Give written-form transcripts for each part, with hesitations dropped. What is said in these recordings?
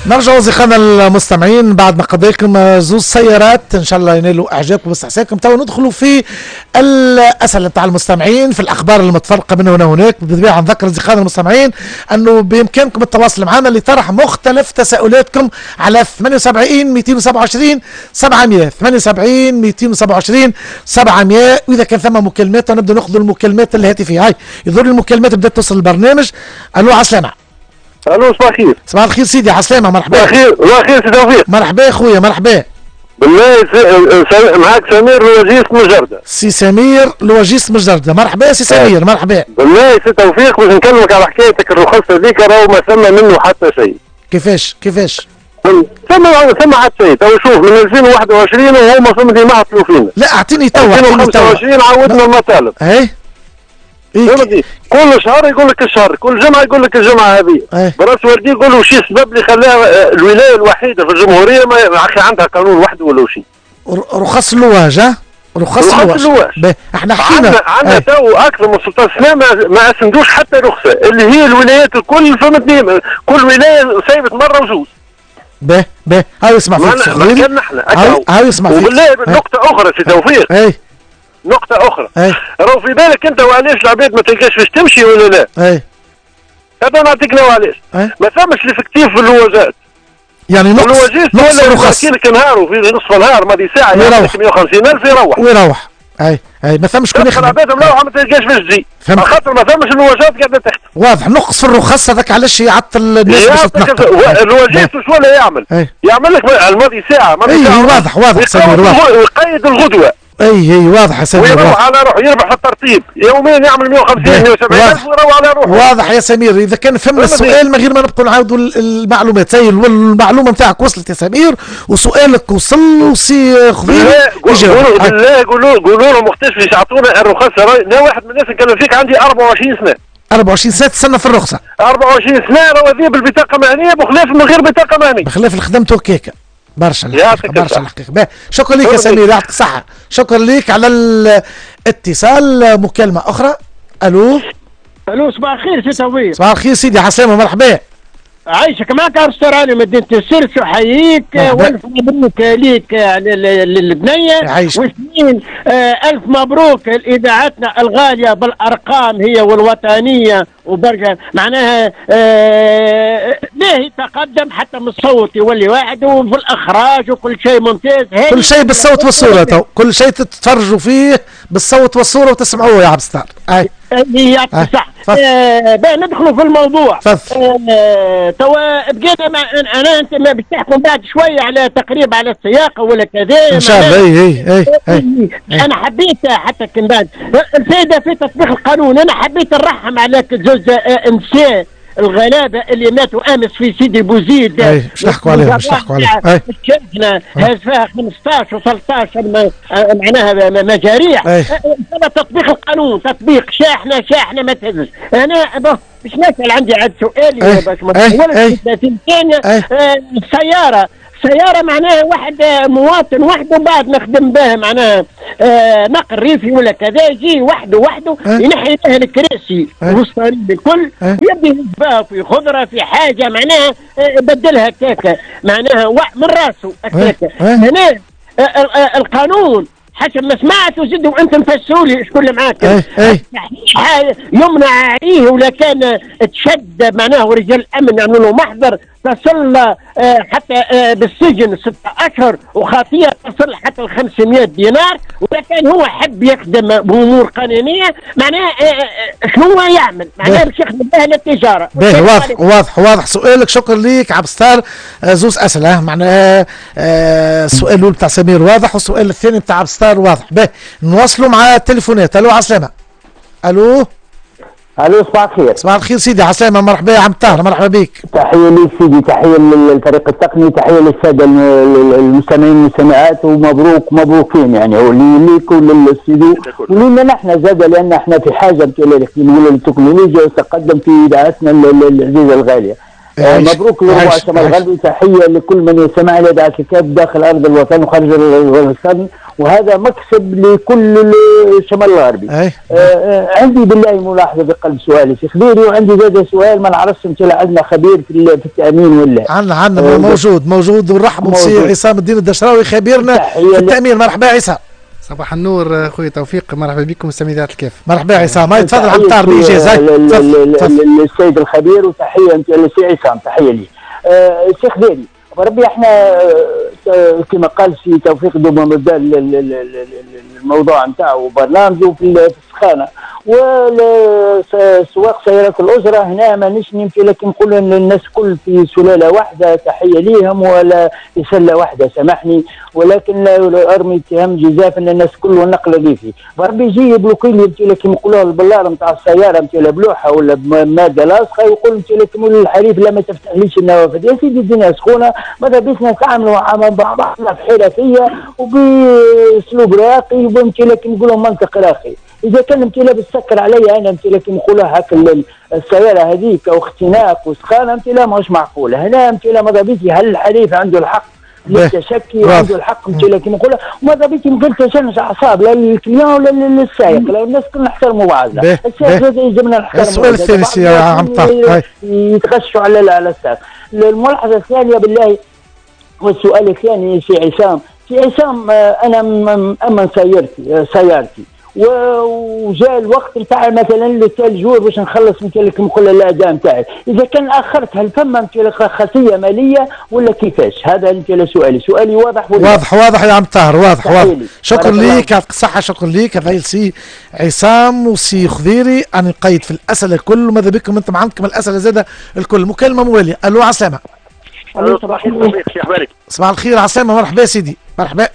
نرجع اصدقائنا المستمعين بعد ما قضينا لكم زوز سيارات ان شاء الله ينالوا اعجابكم واستحسانكم. تو ندخلوا في الاسئلة نتاع المستمعين في الاخبار المتفرقة من هنا وهناك. بالطبيعة نذكر اصدقائنا المستمعين انه بامكانكم التواصل معنا لطرح مختلف تساؤلاتكم على 78 227 700 78 227 700. واذا كان ثم مكالمات نبدا ناخذ المكالمات الهاتفية. هاي يظهر المكالمات بدات توصل البرنامج. الو عسلامة. الو صباح الخير. صباح الخير سيدي، عسلامة، مرحبا. صباح الخير، صباح الخير سي توفيق. مرحبا يا خويا، مرحبا. بالله معاك سمير louagiste من جردة. سي سمير louagiste من جردة، مرحبا سي سمير، مرحبا. بالله سي توفيق باش نكلمك على حكايتك الرخص هذيك، راهو ما ثم منه حتى شيء. كيفاش كيفاش؟ ثم حتى شيء، تو شوف من 2021 وهما فهمتني ما عطلوا فينا. لا اعطيني تو 2025 عودنا المطالب. اي إيه؟ كل شهر يقول لك الشهر، كل جمعه يقول لك الجمعة هذه. إيه؟ براس والدي يقول له شي السبب اللي خلاها الولاية الوحيدة في الجمهورية ما عندها قانون وحده ولا شيء. رخص اللواج، ها؟ رخص اللواج. احنا حكينا عندنا تو اكثر من 16 سنة ما اسندوش حتى رخصه، اللي هي الولايات الكل فهمتني، كل ولاية سايبت مرة وزوج. به به هاي اسمع فيك كان احنا هاي اسمع فيك. وبالله نقطة اخرى سي توفيق. اي نقطة أخرى. راهو في بالك أنت وعلاش العباد ما تلقاش باش تمشي ولا لا؟ أي. هذا نعطيك لو علاش. ما ثمش l'effectif في اللواجات. يعني نقص الرخص. يحكي لك نهار وفي نصف نهار ماضي ساعة يعطيك 150,000 يروح. ويروح. أي أي ما ثمش شكون يخدم. العباد مروحة ما تلقاش باش تجي. خاطر ما ثمش اللواجات قاعدة تخدم. واضح نقص في الرخص هذاك علاش يعطل الناس باش تتنقل. اللواجات شو ولا يعمل؟ يعمل لك الماضي ساعة ماضي ساعة. واضح واضح سمير واضح. ويقيد الغدوة. اي اي واضح يا سمير. ويروح على روحه، يربح في الترتيب يوميا يعمل 150 170 الف ويروح على روحه. واضح يا سمير. اذا كان فهمنا السؤال من غير ما نبقوا نعاودوا المعلومات. هي المعلومة نتاعك وصلت يا سمير وسؤالك وصل وسي خضير. بالله قولوا لهم وقتاش باش يعطونا الرخص. انا واحد من الناس نكلم فيك عندي 24 سنة. 24 سنة تستنى في الرخصة. 24 سنة راهو هذه بالبطاقه مهنية بخلاف من غير بطاقة مهنية. بخلاف اللي خدمته هكاك. برشا الحقيقة، برشا الحقيقة. شكرا لك يا سمير، يعطيك الصحة. شكرا لك على الاتصال. مكالمة أخرى. ألو. ألو صباح الخير سي توفيق. صباح الخير سيدي، عسلامة، مرحبا. عايشك، معك عبد مدينة السرس، وحييك والف مبروك ليك على البنية. واثنين ألف مبروك لإذاعتنا الغالية بالأرقام هي والوطنية وبرجع معناها باهي تقدم حتى من الصوت يولي واحد وفي الإخراج وكل شيء ممتاز. كل شيء بالصوت والصورة، تو كل شيء تتفرجوا فيه بالصوت والصورة وتسمعوه يا عبد الستار. أي يعطيك الصحة. باه ندخلوا في الموضوع. توا بقينا مع انا انت ما باش تحكم بعد شوية على تقريب على السياقه ولا كذا ان شاء الله. اي اي اي انا حبيت حتى كان بعد الفائدة في تطبيق القانون. انا حبيت نرحم على زوج نساء الغلابة اللي ماتوا امس في سيدي بوزيد. اي باش نحكوا عليهم، باش نحكوا عليهم. الشحنة هاز فيها 15 و13 معناها مجاريح. هذا تطبيق القانون، تطبيق شاحنة شاحنة ما تهزش. انا باش نسال، عندي عاد سؤالي باش ما نطولش 30 ثانية. السيارة سيارة معناها واحد مواطن وحده بعد نخدم بها معناها نقل ريفي ولا كذا، يجي وحده وحده ينحي لها الكراسي والصليب الكل ويبدا يهز بها في خضرة في حاجة معناها بدلها كاكا معناها من راسه هكاكا. هنا القانون حسب ما سمعت وزدوا انتم فسروا لي شكون اللي معاك يمنع عليه ولا كان تشد معناه رجال الامن يعملوا له محضر تصل حتى بالسجن 6 اشهر وخطيه تصل حتى 500 دينار. ولا كان هو حب يخدم بامور قانونية معناه شنو يعمل؟ معناه باش يخدم بها للتجارة. باهي واضح واضح واضح سؤالك. شكرا ليك عبد الستار. زوز اسئلة معناها السؤال الاول بتاع سمير واضح والسؤال الثاني بتاع عبد الستار واضح. باهي نواصلوا مع التليفونات. الو عسلامة. الو. الو صباح الخير. صباح الخير سيدي، عسلامة، مرحبا يا عم طاهر، مرحبا بك. تحية ليك سيدي، تحية للفريق التقني، تحية للسادة المستمعين والمستمعات، ومبروك مبروكين يعني ليك وللاستوديو ولينا نحن زاد، لان احنا في حاجة للتكنولوجيا والتقدم في اذاعتنا العزيزة الغالية. مبروك لربع الشمال الغربي، تحية لكل من يستمع الى اذاعة الكاف داخل ارض الوطن وخارج الوطن، وهذا مكسب لكل الشمال الغربي. عندي بالله ملاحظة بقلب سؤالي سي خذيري، وعندي زاد سؤال ما نعرفش انت عندنا خبير في التامين ولا عندنا موجود ونرحبوا بسي عصام الدين الدشراوي خبيرنا في التامين. مرحبا عصام. صباح النور خويا توفيق، مرحبا بكم مستمعي اذاعة الكاف. مرحبا عصام، هاي تفضل عم طار بايجاز. للسيد الخبير، وتحية انت لسي عصام، تحية لي. سي خذيري، بربي احنا كما قال سي توفيق دوما بدا الموضوع نتاعو وبرنامجه في السخانه وسواق سيارات الاجرة هنا مانيش نمشي، لكن نقول ان الناس كل في سلالة واحدة، تحية ليهم ولا في سله واحدة سامحني، ولكن لا ارمي اتهام جزاف ان الناس كل والنقل الريفي. بربي يجي يبلوكي لي لكن نقولوها البلار نتاع السيارة نتاع بلوحه ولا بماده لاصقه، يقول لك الحريف لا ما تفتحليش النوافذ. يا سيدي الدنيا سخونة، ماذا بينا نتعاملوا مع بعضنا بحرفيه وباسلوب راقي، وبمتي لكن نقولوا منطق راقي. اذا كان انت لابس سكر عليا انا انت لكن نقولها هاك السيارة هذيك واختناق وسخانه انت لا ماهوش معقولة. هنا انت لا ماذا بيتي هل الحريف عنده الحق للتشكي وعنده الحق انت لكن نقولها ماذا بيتي من غير تشنج اعصاب لا لل client ولا للسائق، لا الناس كلنا نحترموا بعضنا. السائق زاد يلزمنا نحترموا. السؤال الثاني سي عم طارق يتغشوا على السائق. الملاحظة الثانية بالله والسؤال الثاني سي عصام، سي عصام انا امن سيارتي وجاء الوقت نتاع مثلا le tel jour باش نخلص مثلا كيما نقول الاداء نتاعي، اذا كان اخرت هل فما مثلا خاصية ماليه ولا كيفاش؟ هذا مثلا سؤالي، سؤالي واضح ولا واضح؟ واضح يا عم طاهر، واضح واضح. شكرا ليك، يعطيك الصحة، شكرا ليك هذا سي عصام وسي خذيري. انا نقيد في الاسئلة الكل، وماذا بكم انتم عندكم الاسئلة زاده الكل. مكالمة مواليه، الو عسلامة. الو صباح الخير، شي اخبارك؟ صباح الخير عسلامة، مرحبا سيدي، مرحبا.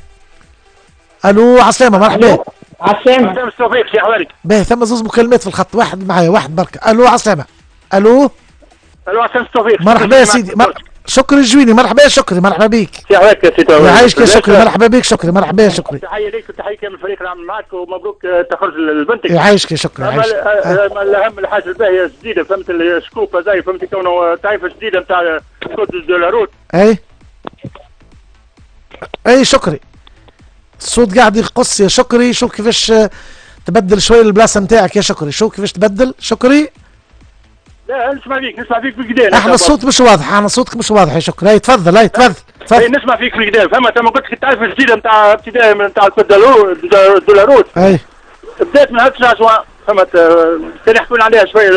الو عسلامة، مرحبا. عسلامة توفيق، شي احوالك؟ باهي، ثم زوز مكالمات في الخط، واحد معايا واحد برك. الو عسلامة. الو الو عسلامة توفيق، مرحبا يا سيدي. شكري الجويني، مرحبا شكري، مرحبا بك. شي احوالك يا سيدي؟ يعيشك يا شكري، مرحبا بك شكري، مرحبا يا شكري. تحية ليك وتحية كامل الفريق اللي عامل معك، ومبروك تخرج لبنتك. يعيشك يا شكري، يعيشك. الاهم الحاجة الباهية الجديدة، فهمت ال scoop هذايا، فهمت كونه تعريفة جديدة نتاع code de la route. اي اي شكري، الصوت قاعد يقص يا شكري، شوف كيفاش تبدل شوية البلاصة نتاعك يا شكري، شوف كيفاش تبدل شكري. لا نسمع فيك، نسمع فيك بالقدا. احنا الصوت مش واضح، احنا صوتك مش واضح يا شكري. هاي تفضل، هاي تفضل تفضل. نسمع فيك بالقدا، فهمت؟ انا قلت لك التعريف الجديدة نتاع ابتدائي نتاع ال code de la route. اي بدات من 9 جوان، فهمت؟ كان يحكون عليها شوية.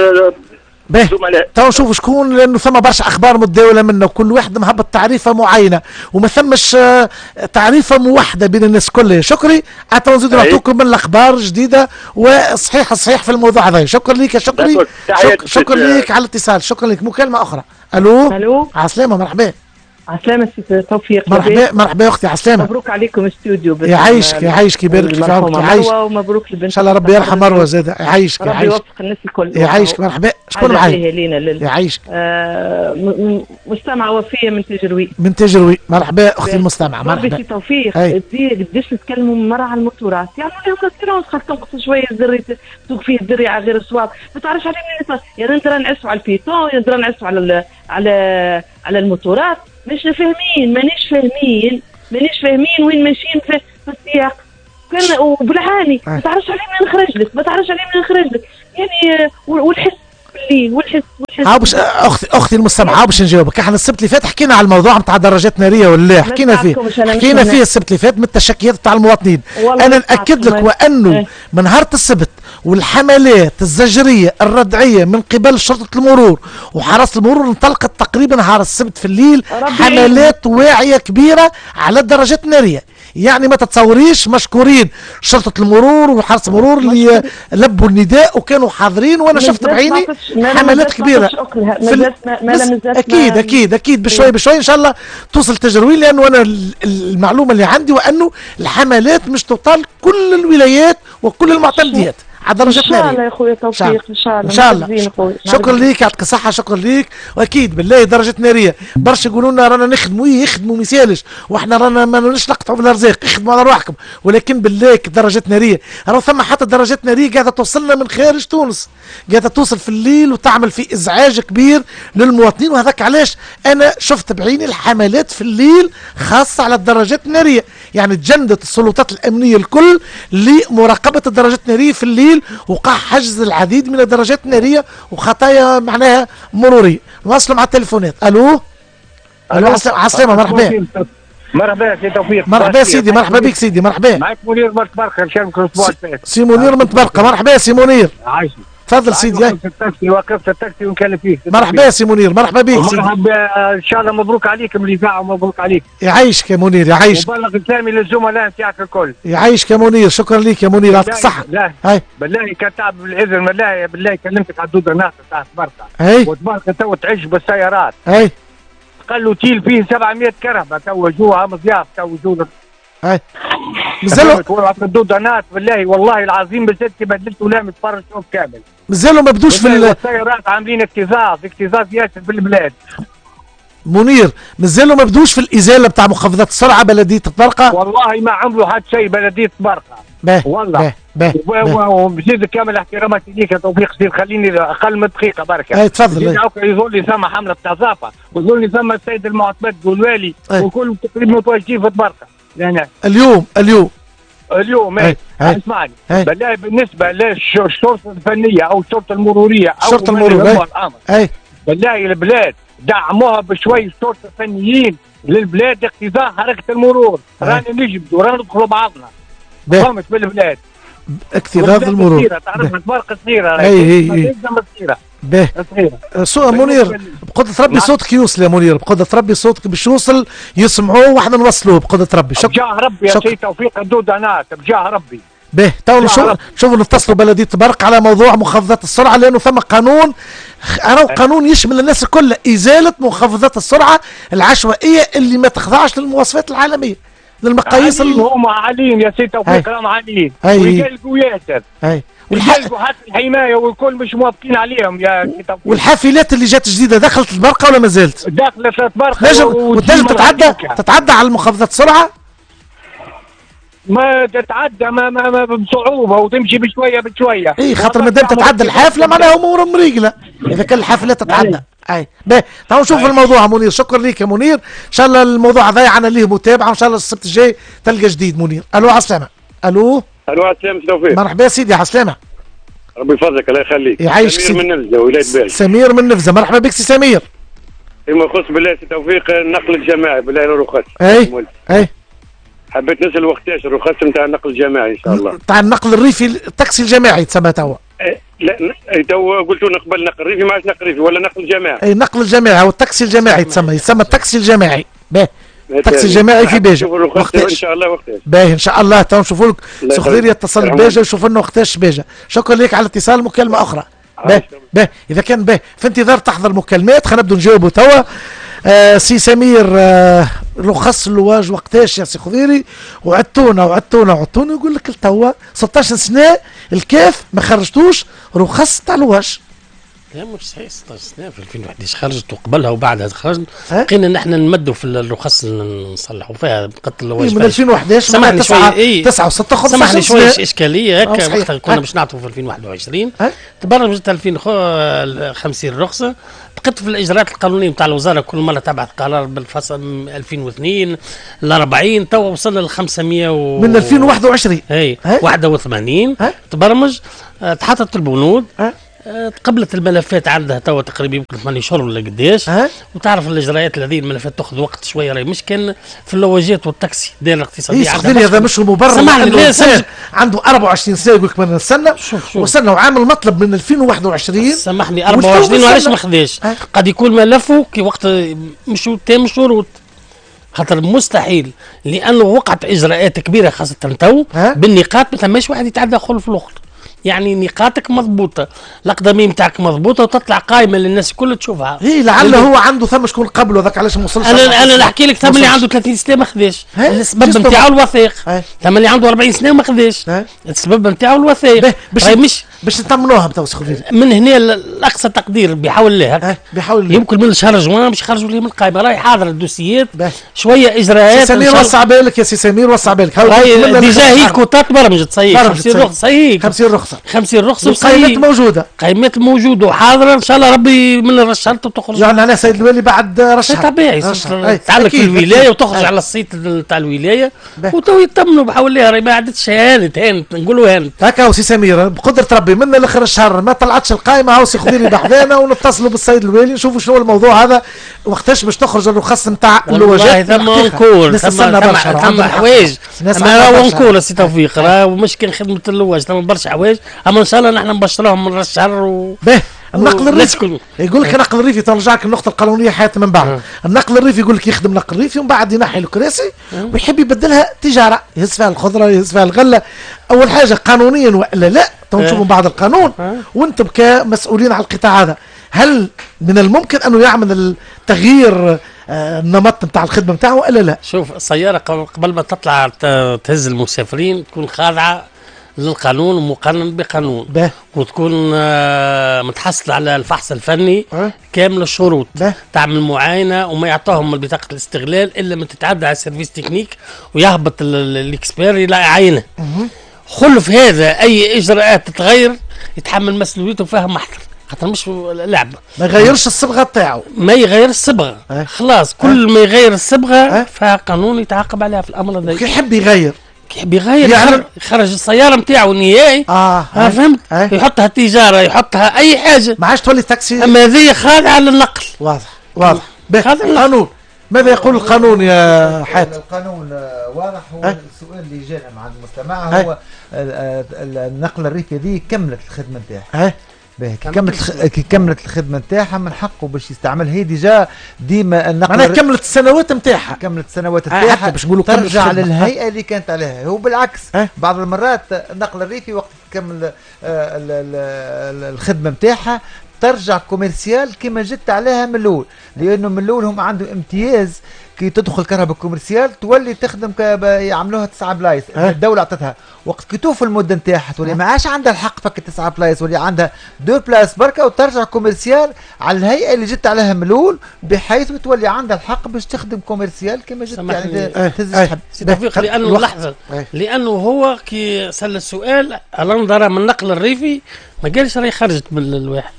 باهي، تو نشوف شكون، لانه ثم برشا اخبار متداوله منا، وكل واحد مهبط تعريفه معينة وما ثمش تعريفه موحدة بين الناس كلها. شكري، حتى نزيد نعطوكم من الاخبار الجديدة وصحيح الصحيح في الموضوع هذا. شكرا لك يا شكري، شكرا لك على الاتصال، شكرا لك. مكالمة اخرى. الو الو عسلامة، مرحبا. عسلامة سي توفيق، مرحبا مرحبا يا اختي، عسلامة. مبروك عليكم استوديو. يعيشك يعيشك، يبارك في عمرك، يعيشك. ومبروك لبنت، ان شاء الله ربي يرحم مروه زاد. يعيشك ربي يوفق الناس الكل. يعيشك، مرحبا. شكون معايا؟ يعيشك. مستمعة وفية من تجروي. من تجروي، مرحبا اختي المستمعة، مرحبا. سي توفيق، قداش نتكلموا مرة على الموتورات، يعني لهم assurance خاطر تنقص شوية الزري، تسوق فيه الزري على غير الصواب، ما تعرفش عليه منين. يا ندرا نعسوا على ال piéton، يا ندرا نعسوا على على على الموتورات. مش فاهمين، مانيش فاهمين، مانيش فاهمين وين ماشيين في السياق. كان وبالعاني ما تعرفش عليه منين نخرج لك، ما تعرفش عليه منين نخرج لك، يعني والحس بالليل والحس والحس. ها باش اختي المستمعة باش نجاوبك، احنا السبت اللي فات حكينا على الموضوع نتاع درجات نارية ولا حكينا فيه، حكينا فيه السبت اللي فات من التشكيات نتاع المواطنين. انا ناكد لك وانه من نهار السبت والحملات الزجريه الردعيه من قبل شرطه المرور وحرس المرور انطلقت تقريبا نهار السبت في الليل، حملات واعية كبيرة على الدرجات النارية، يعني ما تتصوريش. مشكورين شرطه المرور وحرس المرور اللي لبوا النداء وكانوا حاضرين، وانا شفت بعيني حملات كبيرة. اكيد اكيد اكيد بشوي بشوي ان شاء الله توصل تجروين، لانه انا المعلومة اللي عندي وانه الحملات مش تطال كل الولايات وكل المعتمديات. على درجه ان شاء الله يا خويا توفيق، ان شاء الله ان شاء الله. شكرا ليك، يعطيك الصحة، شكرا ليك. واكيد بالله درجه نارية، برشا يقولوا لنا رانا نخدموا، يخدموا ما يسالش، واحنا رانا ما نوليش نقطعوا في الارزاق، اخدموا على روحكم، ولكن بالله درجات نارية، راهو ثم حتى درجات نارية قاعدة توصلنا من خارج تونس، قاعدة توصل في الليل وتعمل في ازعاج كبير للمواطنين. وهذاك علاش انا شفت بعيني الحملات في الليل خاصة على الدراجات النارية، يعني تجندت السلطات الامنية الكل لمراقبه الدراجات النارية في الليل، وقع حجز العديد من الدراجات النارية وخطايا معناها مروريه. نواصلوا مع التليفونات. الو الو، عسلامة، مرحبا. مرحبا سي توفيق. مرحبا سيدي، مرحبا بك سيدي، مرحبا. معك منير من تبرقه، نشارك الاسبوع اللي فات. سي منير من تبرقه، مرحبا سي منير. عايشك. تفضل سيدي. وقفت التاكسي ونكلم فيك. مرحبا سي منير، مرحبا بك سيدي. مرحبا، ان شاء الله مبروك عليكم الاذاعة ومبروك عليك. يعيشك يا منير، يعيشك. وبلغ سلامي للزملاء نتاعك الكل. يعيشك يا منير، شكرا لك يا منير، يعطيك الصحة. لا بالله كان تعب بالاذن، بالله بالله كلمتك على الدودة الناقصة تاع تبرقه. وتبرقه تو تعج بالسيارات. اي قال له تيل فيه 700 كرهبه تو جوها مضياف تو جو. اي مازالوا الدودانات بالله والله العظيم بالذات كي بدلت ولا متفرج شوف كامل. مازالوا ما بدوش في السيارات، عاملين اكتظاظ اكتظاظ ياسر في البلاد. منير مازالوا ما بدوش في الازالة بتاع مخفضات السرعة بلديه طبرقه؟ والله ما عملوا حتى شيء بلديه طبرقه. والله وبزيد كامل احتراماتي ليك يا توفيق سيد، خليني اقل من دقيقة بركة. اي تفضل. يظل لي ثم حمله نظافة، ويظل لي ثم السيد المعتمد والوالي وكل تقريبا متواجدين في طبرقه. يعني اليوم اليوم اسمعني بالله، بالنسبة للشرطة الفنية او الشرطة المرورية او الشرطة المرورية، اي بالله البلاد دعموها بشوي شرطه فنيين للبلاد اقتضاء حركة المرور، رانا نجبدوا رانا ندخلوا بعضنا. فهمت بالبلاد اكتظاظ المرور. تعرف طبرقه صغيرة. اي اي باهي منير، بقدرة ربي صوتك يوصل يا منير، بقدرة ربي صوتك باش يوصل، يسمعوه واحنا نوصلوه بقدرة ربي. شكرا. بجاه ربي يا سيدي توفيق الدودانات، بجاه ربي. باهي تو نشوفوا نتصلوا بلدية طبرق على موضوع مخفضات السرعة، لأنه ثم قانون، راهو قانون يشمل الناس الكل، إزالة مخفضات السرعة العشوائية اللي ما تخضعش للمواصفات العالمية، للمقاييس. هما عاليين يا سيدي توفيق، راهم عاليين ويقلقوا ياسر. اي ويقلقوا حتى الحماية والكل مش موافقين عليهم يا سيدي توفيق. والحافلات اللي جات جديدة دخلت البرقه ولا ما زالت؟ دخلت البرقه وتنجم تتعدى على مخفضات السرعة؟ ما تتعدى ما, ما, ما بصعوبة وتمشي بشوية بشوية. اي خاطر ما دام تتعدى الحافلة معناها امور مريقله، اذا كان الحافلة تتعدى. اي باهي تعالوا نشوف الموضوع منير. شكرا ليك يا منير، ان شاء الله الموضوع هذا عنا ليه متابعه، وان شاء الله السبت الجاي تلقى جديد. منير الو على السلامة. الو الو على السلامة توفيق. مرحبا سيدي، على السلامة. ربي يفضلك، الله يخليك. يعيشك. سمير من نفزه، ولاية باجه. سمير من نفزه، مرحبا بك سي سمير. فيما يخص بالله سي توفيق النقل الجماعي بالله الرخص. اي اي حبيت نسال وقتاش الرخص نتاع النقل الجماعي ان شاء الله؟ تاع النقل الريفي، التاكسي الجماعي تسمى توا. لا تو قلتوا نقبل نقل ريفي، ما عادش نقل ريفي ولا نقل جماعي. اي النقل الجماعي او التاكسي الجماعي تسمى، يسمى التاكسي الجماعي. باهي التاكسي الجماعي في باجه وقتاش ان شاء الله؟ وقتاش؟ باهي ان شاء الله تو نشوفوا لك سخضير يتصل بباجه ويشوف لنا وقتاش باجه. شكرا لك على الاتصال، مكالمة اخرى. باهي باهي اذا كان باهي في انتظار تحضر مكالمات خلينا نبدو نجاوبوا توا. سي سمير، رخص اللواج وقتاش يا سي خضيري؟ وعدتونا وعدتونا وعدتونا، يقول لك توا 16 سنة الكاف ما خرجتوش رخص تاع لواج. لا مش صحيح، 16 سنة في 2011 خرجت، وقبلها وبعدها خرجت. بقينا نحن نمدوا في الرخص اللي نصلحوا فيها قتل اللواج من 2011. سامحني شوية، 9 و6 15. سامحني شوية اشكالية هكا، وقتها كنا باش نعطوا في 2021 تبرمجت 2050 رخصه، بقيت في الاجراءات القانونية نتاع الوزارة كل مرة تبعث قرار بالفصل 2002 ل 40، توا وصلنا ل 500 و من 2021 اي 81 تبرمج، تحطت البنود، تقبلت الملفات عندها توا تقريبا يمكن 8 شهور ولا قداش. وتعرف الاجراءات هذه الملفات تاخذ وقت شوية، راهي مش كان في اللواجات والتاكسي الدائرة الاقتصادية. إيه هذا مش مبرر، عنده 24 سنة يقول لك ما نستنى، وصلنا وعامل مطلب من 2021. سامحني 24 وعلاش ما خذاش؟ قد يكون ملفه كي وقت مش تام شروط، خاطر مستحيل، لانه وقعت اجراءات كبيرة خاصة تو بالنقاط، ما ثماش واحد يتعدى خلف الاخر. يعني نقاطك مضبوطة، الاقدميه نتاعك مضبوطة، وتطلع قائمة للناس الكل تشوفها. اي لعل هو عنده ثم شكون قبله ذاك علاش ما وصلش. انا نحكي لك ثم اللي عنده 30 سنة ما خذاش السبب نتاعو الوثائق، ثم اللي عنده 40 سنة وما خذاش السبب نتاعو الوثائق. باش باش نطمنوها تو من هنا لاقصى تقدير بحول الله، بحول الله يمكن من شهر جوان باش يخرجوا لي من القائمة، راهي حاضره الدوسيات شوية اجراءات. سي سمير وسع بالك يا سي سمير، وسع بالك. déjà هي الكوتات برمجت صحيح 50 رخصه، صحيح 50 رخصه، 50 رخصه، القائمات موجودة، قائمات موجودة وحاضره ان شاء الله ربي من الرشالة تخرج. يعني على سيد الوالي بعد رشح طبيعي تعلق في الولاية وتخرج على الصيت تاع الولاية وتو يطمنوا بحول الله، راهي ما عادتش هانت، هانت نقولوا هانت. هكا سي سمير بقدره ربي من الاخر الشهر ما طلعتش القائمة هاو سي خضيري بحذانا ونتصلوا بالسيد الوالي نشوفوا شنو الموضوع هذا وقتاش باش تخرج الرخص نتاع اللواجات. ثم encore ثم حوايج، اما راهو encore سي توفيق، راهو مش كان خدمة اللواج، ثم برشا حوايج، اما ان شاء الله نحن نبشروهم من الشهر. باهي النقل الريفي يقول لك النقل الريفي، ترجعك النقطة القانونية حياة من بعد. النقل الريفي يقول لك يخدم نقل ريفي ومن بعد ينحي الكراسي ويحب يبدلها تجارة، يهز فيها الخضرة يهز فيها الغلة. أول حاجة قانونيا وإلا لا، تو نشوفوا بعد القانون. وأنتم كمسؤولين على القطاع هذا، هل من الممكن أنه يعمل التغيير النمط نتاع الخدمة نتاعو وإلا لا؟ شوف السيارة قبل ما تطلع تهز المسافرين تكون خاضعة للقانون ومقنن بقانون. به. وتكون متحصل على الفحص الفني كامل الشروط. به. تعمل معاينة وما يعطوهم من بطاقة الاستغلال الا ما تتعدى على ال service technique ويهبط ال expert يعاينه. خلف هذا اي اجراءات تتغير يتحمل مسؤوليته وفيها محضر، خاطر مش لعبه. ما يغيرش الصبغه تاعو، ما يغير الصبغه. خلاص كل ما يغير الصبغه فقانون يتعاقب عليها في الامر هذا. كي يحب يغير، كي بيغير يعني يخرج السيارة نتاعو نهائي. فهمت؟ يحطها تجارة، يحطها اي حاجة، ما عادش تولي تاكسي. اما هذه خاضعة للنقل. واضح واضح. القانون ماذا يقول القانون يا حاتم؟ القانون واضح. هو السؤال اللي جانا مع المستمع هو النقل الريفي هذه كملت الخدمة نتاعها. كي كملت الخدمة نتاعها من حقه باش يستعملها. هي déjà ديما النقل معناها كملت السنوات نتاعها، كملت السنوات نتاعها باش نقولوا ترجع للهيئة اللي كانت عليها. هو بالعكس بعض المرات النقل الريفي وقت تكمل الخدمة نتاعها ترجع commercial كما جت عليها من الاول، لانه من الاول هم عندهم امتياز كي تدخل كرهبة commerciale تولي تخدم يعملوها 9 بلايص، الدولة عطتها. وقت كي توفى المدة نتاعها تولي ما عادش عندها الحق فك 9 بلايص، ولي عندها 2 places بركة، وترجع commercial على الهيئة اللي جت عليها من الاول، بحيث تولي عندها الحق باش تخدم commercial كما جت، يعني تهز تحب. سي توفيق، لانه لحظة، لانه هو كي سال السؤال على نظرة من النقل الريفي ما قالش راهي خرجت من الواحد.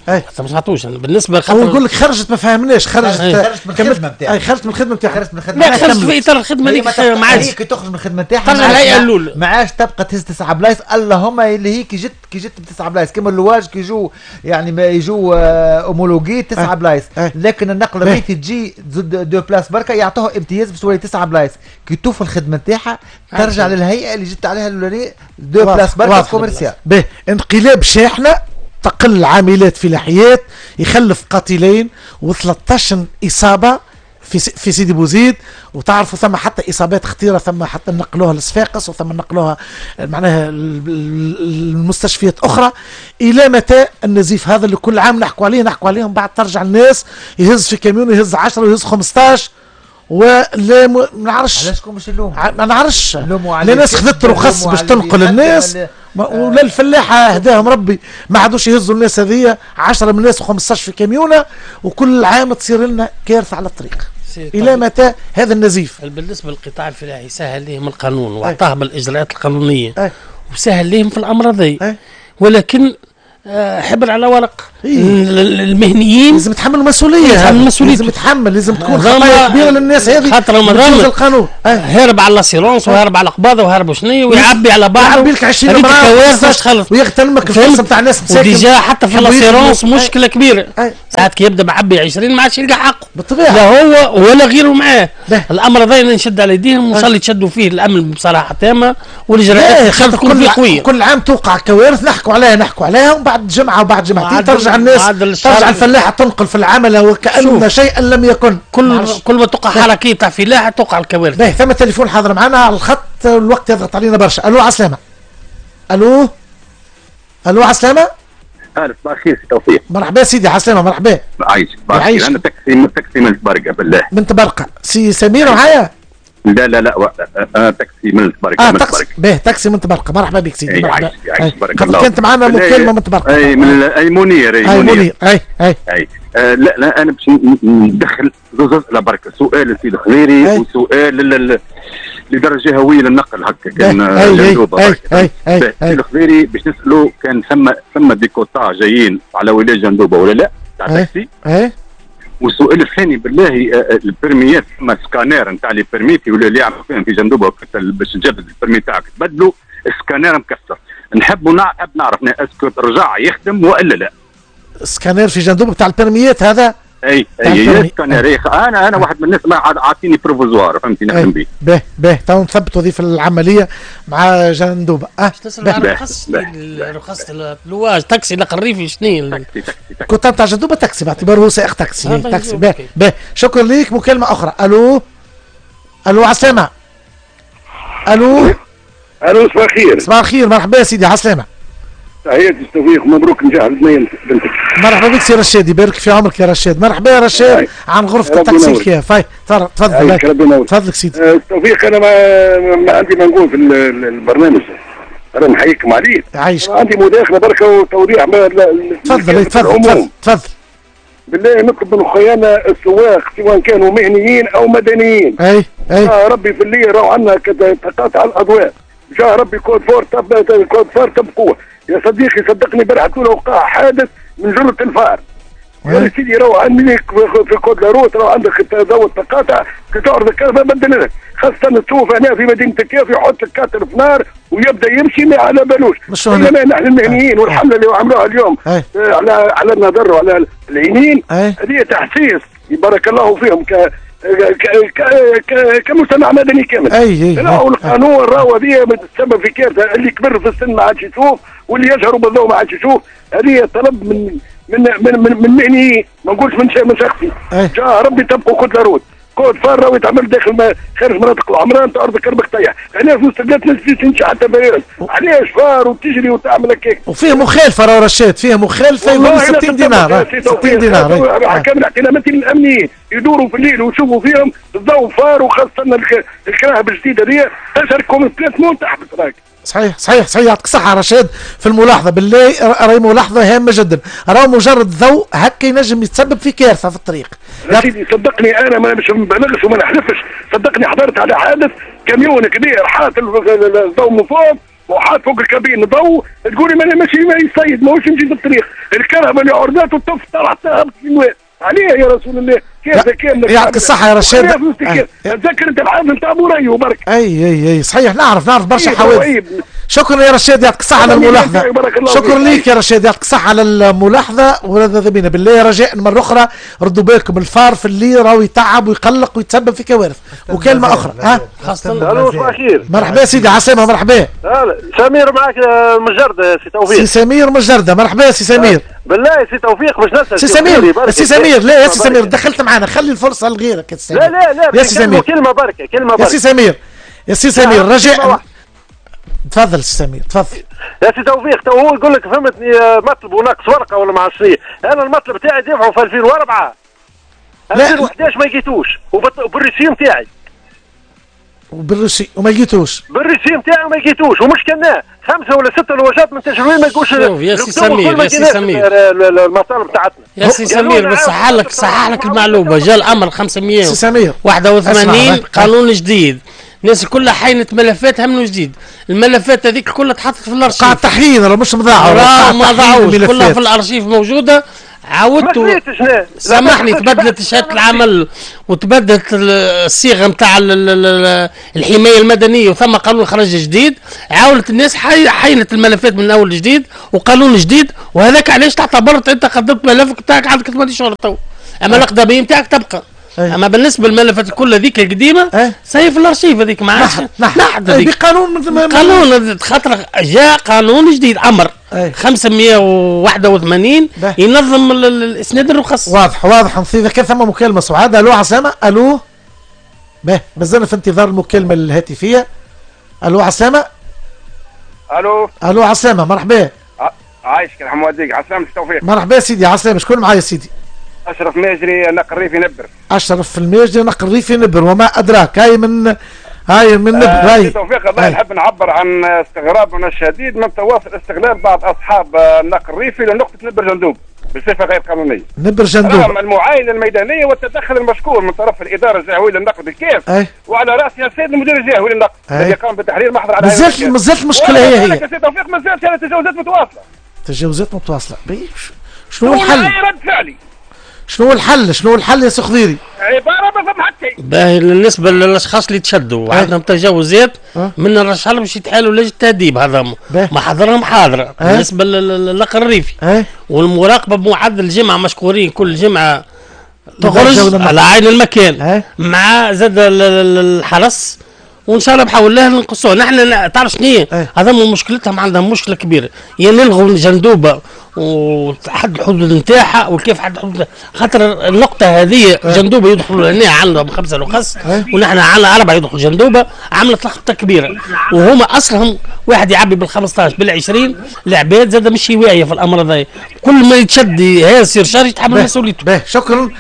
حتى ما سمعتوش انا بالنسبة خاطر هو يقول لك خرجت ما فهمناش، خرجت من الخدمة نتاعها، خرجت من الخدمة نتاعها، خرجت من الخدمة، لا خرجت في اطار الخدمة هذيك ما عادش. كي تخرج من الخدمة نتاعها ترجع الهيئة الاولى، ما عادش تبقى تهز 9 بلايص، اللهم اللي هي كي جت بتسعة بلايص كما اللواج كي يجوا يعني ما يجوا homologués 9 بلايص، لكن النقل الريفي تجي تزيد 2 places بركة يعطوها امتياز باش تولي 9 بلايص. كي توفى الخدمة نتاعها ترجع للهيئة اللي جت عليها الاولانية 2 places بركة commercial. باهي، انقلاب شاحنة تقل عاملات فلاحيات يخلف قتيلين و13 إصابة في سيدي بوزيد، وتعرفوا ثم حتى إصابات خطيرة، ثم حتى نقلوها لصفاقس وثم نقلوها معناها المستشفيات أخرى. إلى متى النزيف هذا اللي كل عام نحكوا عليه نحكوا عليهم، بعد ترجع الناس يهز في كاميون يهز 10 ويهز 15 ولا ما نعرفش علاش شكون باش نلوم، ما نعرفش. لا ناس خذت رخص باش تنقل الناس، ولا الفلاحة هداهم ربي ما عادوش يهزوا الناس هذيا 10 من الناس و15 في كاميونه، وكل عام تصير لنا كارثة على الطريق. الى متى هذا النزيف؟ بالنسبة للقطاع الفلاحي سهل لهم القانون واعطاهم الاجراءات القانونية وسهل لهم في الامر هذا، ولكن حبر على ورق. المهنيين لازم يتحملوا المسؤولية، لازم يتحمل، لازم تكون خطايا كبيرة للناس هذه، خاطر القانون هارب على l'assurance وهارب على القباضه وهارب شنو ويعبي على بعضه، يعبي لك 20 مرة ويغتنمك الفرصة نتاع الناس مساكن. و déjà حتى في l'assurance مشكلة كبيرة، ساعات كي يبدا معبي 20 ما عادش يلقى حقه بالطبيعة، لا هو ولا غيره معاه. الامر هذا نشد على يديهم وان شاء الله يتشدوا فيه الامن بصراحة تامة، والاجراءات تكون فيه قوية. كل عام توقع كوارث نحكوا عليها نحكوا عليها، ومن بعد جمعه وبعد جمعتين ترجع الناس، ترجع الفلاحة تنقل في العملة وكأن شيئا لم يكن. كل ما توقع حركية تاع فلاحة توقع الكوارث. باهي، ثم تليفون حاضر معنا على الخط، الوقت يضغط علينا برشا. الو عسلامة. الو. الو عسلامة. اهلا صباح الخير سي توفيق. مرحبا سيدي عسلامة مرحبا. عايشك عايشك. انا تاكسي من تبرقة بالله. من تبرقة سي سمير معايا؟ لا لا لا انا تاكسي من تبرقة. تاكسي باهي تاكسي من تبرقة مرحبا بك سيدي مرحبا. عايشك بارك الله. كانت معنا مكالمة من تبرقة. اي من اي منير اي منير اي اي اي. لا لا انا باش ندخل زوز اسئلة برك، سؤال للسيد الخضيري وسؤال للإدارة الجهوية للنقل هكا كان جندوبه. اي اي اي السيد الخضيري باش نسالو كان ثم des quotas جايين على ولاية جندوبه ولا لا تاع تاكسي. اي. والسؤال الثاني بالله ال permis ات ثم سكانير نتاع les permis ولا اللي يعملوا فيهم في جندوبه باش تجدد ال permis تاعك تبدلوا السكانير مكسر، نحب نعرف est-ce que رجع يخدم والا لا. سكانير في جندوبه بتاع ال permis ات هذا؟ اي اي سكانير. انا واحد من الناس ما عاطيني provisoire فهمتني نخدم به. به به تو نثبت وظيفة العملية مع جندوبه. تسال على رخص اللواج تاكسي نقل ريفي شنو تاكسي كنت نتاع جندوبه تاكسي باعتباره هو سائق تاكسي. تاكسي به به. شكرا ليك. مكالمة اخرى. الو الو عسلامة. الو الو صباح الخير. صباح الخير مرحبا سيدي عسلامة. تحياتي توفيق مبروك نجاح البنية بنتك. مرحبا بك سي رشاد يبارك في عمرك يا رشاد. مرحبا يا رشاد عن غرفة التاكسي الكاف. هاي تفضل تفضل سيدي. توفيق انا ما عندي ما نقول في البرنامج، انا نحييكم عليه. عايشك. عندي مداخله بركة وتوضيح. تفضل تفضل تفضل. بالله نطلب من خيانا السواق سواء كانوا مهنيين او مدنيين. اي اي. ربي في الليل راهو عندنا تقاطع الاضواء. جاه ربي code phare code phare تبقوه. يا صديقي صدقني امبارح وقع حادث من جرة ال phare. يا سيدي راهو عندك في code la route راهو عندك ضوء التقاطع كي تعرض الكهرباء بدل لك، خاصة تشوف هنا في مدينة الكاف يحط ال quatre phares ويبدا يمشي ما على بالوش. انما نحن المهنيين والحملة اللي عملوها اليوم على النظر وعلى العينين هذه تحسيس بارك الله فيهم كمجتمع مدني كامل. اي راهو القانون راهو هذه تسبب في كارثة، اللي كبر في السن ما عادش يشوف واللي يجهر بالضوء ما عادش يشوف. هذه طلب من من من من, من مهني ما نقولش من شخصي. جا ربي تبقوا code la route code phare راهو يتعمل داخل خارج مناطق العمران تعرض كربك طيح. علاش مستقلات تمشي حتى باريس؟ علاش phare وتجري وتعمل هكاك؟ وفيه مخالفة راهو رشاد، فيه مخالفة يولي 60 دينار 60 دينار. كامل اعتمادات الامنيين يدوروا في الليل ويشوفوا فيهم الضوء phare وخاصة الكراهب الجديدة دي تشهر complètement تحبس راك. صحيح صحيح صحيح. يعطيك الصحة رشاد في الملاحظة. بالله راهي ملاحظة هامة جدا، راهو مجرد ضوء هكا ينجم يتسبب في كارثة في الطريق. يا سيدي صدقني أنا ما مش نبالغش وما نحلفش، صدقني حضرت على حادث كاميون كبير حاط الضوء من فوق وحاط فوق الكابين ضوء، تقولي ما ماشي ما يصيد ماهوش يمشي في الطريق، الكهرباء اللي عرضته طف طلعت هبط في الواد. عليه يا رسول الله كيف كاملة. يعطيك الصحة يا رشاد. تذكر انت الحادث نتاع بوريو برك. اي اي اي صحيح نعرف برشا حوادث. شكرا يا رشاد يعطيك الصحة على الملاحظة. شكرا ليك يا رشاد يعطيك الصحة على الملاحظة. وهذا بينا بالله رجاء مرة أخرى ردوا بالكم ال phare في الليل راهو يتعب ويقلق ويتسبب في كوارث. وكلمة أخرى ها. الو صباح الخير. مرحبا سيدي عسلامة مرحبا. سمير معك من جردة سي توفيق. سي سمير من جردة مرحبا سي سمير. بالله سي توفيق باش نسال سي سمير. سي سمير لا يا سي سمير دخلت معنا خلي الفرصة لغيرك يا سي سمير. لا لا لا يا سي سمير كلمة بركة كلمة بركة يا سي سمير يا سي سمير رجاء. تفضل سي سمير تفضل. يا سي توفيق تو هو يقول لك فهمتني مطلب وناقص ورقة ولا ما عرفتش. انا المطلب تاعي دفعه في 2004 2011 ما لقيتوش وبال reçu نتاعي وبال reçu وما لقيتوش بال reçu نتاعي ما لقيتوش ومش كناه 5 ولا 6 لوجات من تجربه ما يقولش. يا سي سمير يا سي سمير المطالب تاعتنا يا سي سمير بس صحح لك المعلومة. جاء الامر 581 قانون جديد، الناس كلها حينت ملفاتها من جديد، الملفات هذيك كلها تحطت في الارشيف. قاع تحيين راه مش مضاعوا، راه ما ضاعوش كلها في الارشيف موجودة. عاودت سامحني تبدلت شهادة العمل وتبدلت الصيغة نتاع الحماية المدنية وثم قانون خرج جديد، عاودت الناس حينت الملفات من اول جديد وقانون جديد، وهذاك علاش تعتبرت انت قدمت ملفك نتاعك عندك 8 شهور تو، اما الاقدميه نتاعك تبقى. اما بالنسبة للملفات كل هذيك القديمة ساي في الارشيف هذيك ما عادش نحد هذيك بقانون قانون خاطر جاء قانون جديد امر 581 ينظم الاسناد الرخص. واضح واضح. اذا كان ثم مكالمة سعاد. الو عسامه. الو باهي مازلنا في انتظار المكالمة الهاتفية. الو عسامه. الو الو عسامه مرحبا. عايشك يرحم والديك، على السلامة توفيق. مرحبا سيدي، على السلامة. شكون معايا سيدي؟ اشرف ماجري نقل ريفي نبر. اشرف الماجري نقل ريفي نبر، وما ادراك، هاي من نبر. هاي توفيق الله، نحب نعبر عن استغرابنا الشديد من تواصل استغلال بعض اصحاب النقل الريفي لنقطة نبر جندوب بصفة غير قانونية. نبر جندوب رغم المعاينة الميدانية والتدخل المشكور من طرف الادارة الجهوية للنقل بالكاف، وعلى راسها السيد المدير الجهوي للنقل الذي قام بتحرير محضر على مازالت المشكلة هي سيد توفيق، مازالت تجاوزات متواصلة. تجاوزات متواصلة. شنو الحل؟ رد فعلي. شنو الحل؟ شنو الحل يا سي خضيري؟ عبارة ما فهم حتى شيء. باهي بالنسبة للاشخاص اللي تشدوا وعندهم تجاوزات من الرشح باش يتحالوا لجنة التاديب، هذا محاضرهم حاضره. بالنسبة للنقل الريفي والمراقبة بمعدل الجمعة مشكورين، كل جمعه تخرج على عين المكان مع زاد الحرس، وان شاء الله بحول الله نقصوه. نحن تعرف شنو هذا مشكلتهم، عندهم مشكلة كبيرة، يا نلغوا الجندوبه وحد الحدود نتاعها وكيف حد الحدود، خاطر النقطة هذه جندوبه يدخلوا هنا عندهم 5 رخص ونحن عندنا 4 يدخلوا جندوبه، عملت لخبطة كبيرة، وهما اصلهم واحد يعبي بال15 بال20، العباد زاد مش واعية في الامر هذا، كل ما يتشد يصير surcharge يتحمل مسؤوليته. باهي شكرا.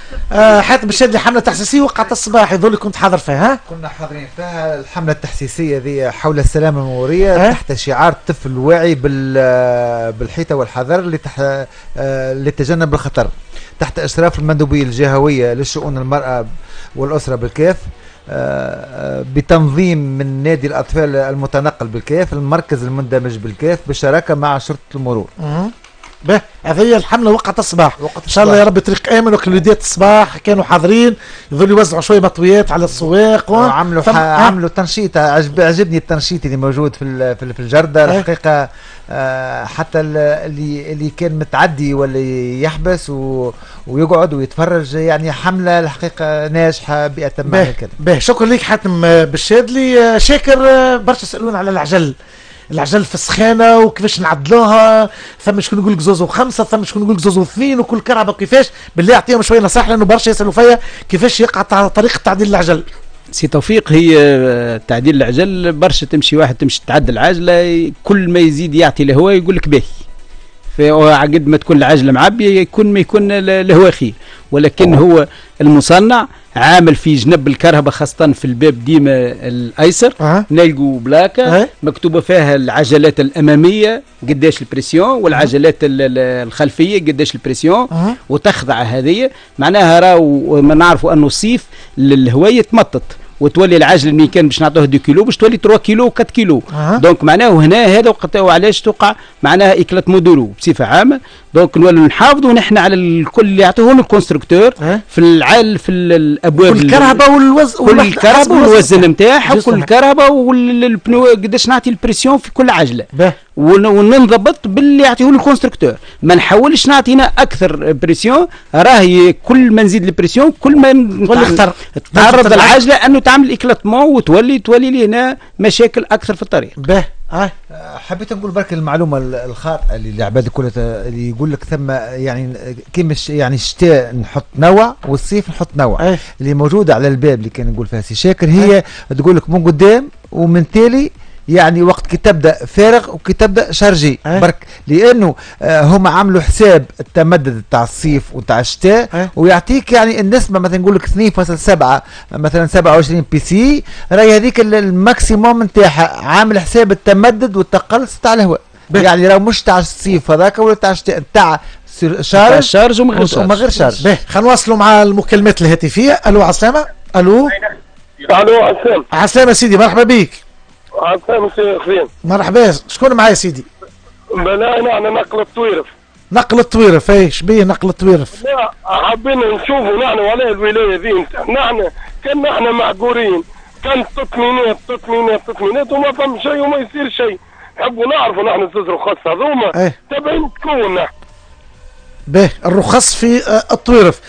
حاتم الشادلي، حمله تحسيسيه وقعت الصباح، يظل كنت حاضر فيها. كنا حاضرين فيها الحملة التحسيسيه ذي حول السلامة المرورية تحت شعار طفل واعي بالحيطه والحذر لتجنب الخطر، تحت اشراف المندوبيه الجهوية لشؤون المراة والاسرة بالكاف، بتنظيم من نادي الاطفال المتنقل بالكاف، المركز المندمج بالكاف، بالشراكة مع شرطه المرور. به هذه هي الحملة وقعت الصباح، ان شاء الله يا رب طريق امن. وكل الصباح كانوا حاضرين، يظلوا يوزعوا شوية مطويات على السواق عملوا عملوا تنشيط. عجبني التنشيط اللي موجود في الجرده الحقيقة. حتى اللي كان متعدي ولا يحبس ويقعد ويتفرج، يعني حمله الحقيقة ناجحة بأتم معنى الكلمة. به شكرا لك حاتم بالشادلي. شاكر، برشا سالونا على العجل، العجل في السخانه وكيفاش نعدلوها، ثم شكون يقول لك 2.5، ثم شكون يقول لك 2.2، وكل كرهبه كيفاش. بالله اعطيهم شوية نصائح لانه برشا يسالوا فيا كيفاش يقع طريقه تعديل العجل. سي توفيق، هي تعديل العجل برشا تمشي واحد تمشي تعدل عجله، كل ما يزيد يعطي الهواء يقول لك باهي، فعقد ما تكون العجلة معبيه يكون ما يكون الهواء خير، ولكن هو المصنع عامل في جنب الكرهبه خاصة في الباب ديما الايسر نلقوا plaque مكتوبة فيها العجلات الامامية قداش ال pression والعجلات الخلفية قداش ال pression وتخضع هذه، معناها راهو ما نعرفوا انه الصيف الهواء يتمطط وتولي العجلة اللي كان باش نعطوه 2 كيلو باش تولي 3 كيلو 4 كيلو. donc معناه هنا هذا وقت وعلاش توقع معناها éclatement de roues بصفة عامة. donc نولوا نحافظوا نحن على الكل اللي يعطوه ال constructeur في العال في الابواب، كل الكرهبه والوزن، كل الكرهبه والوزن نتاعها، وكل الكرهبه وال pneu قداش نعطي ال pression في كل عجله، وننضبط باللي يعطيه ال constructeur، ما نحاولش نعطينا اكثر pression، راهي كل ما نزيد ال pression كل ما تعرض العجلة انه تعمل éclatement وتولي لنا مشاكل اكثر في الطريق. به حبيت نقول برك المعلومة الخاطئة اللي العباد الكل اللي يقول لك ثم يعني كيما يعني الشتاء نحط نوع والصيف نحط نوع. اللي موجودة على الباب اللي كان نقول فيها سي شاكر، هي تقول لك من قدام ومن تالي، يعني وقت كي تبدا فارغ وكي تبدا chargé برك، لانه هما عملوا حساب التمدد تاع الصيف وتاع الشتاء ويعطيك يعني النسبة، مثلا نقول لك 2.7 مثلا 27 psi، راهي هذيك ال maximum نتاعها، عامل حساب التمدد والتقلص تاع الهواء، يعني راه مش تاع الصيف هذاك ولا تاع الشتاء، تاع charge وما غير charge. باهي خلينا نواصلوا مع المكالمات الهاتفية. الو عسلامة. الو الو عسلامة. عسلامة سيدي، مرحبا بك. عسلامة سي خزين. مرحبا، شكون معايا سيدي؟ بلا نحن نقل الطويرف. نقل الطويرف، اي شبيه نقل الطويرف؟ لا حابين نشوفوا نحن وعلاه الولاية ذي نحن كان نحن معقورين، كان تطمينات تطمينات تطمينات وما فهم شيء وما يصير شيء، نحبوا نعرفوا نحن الزوز رخص هذوما تبعين تكون. باهي الرخص في الطويرف.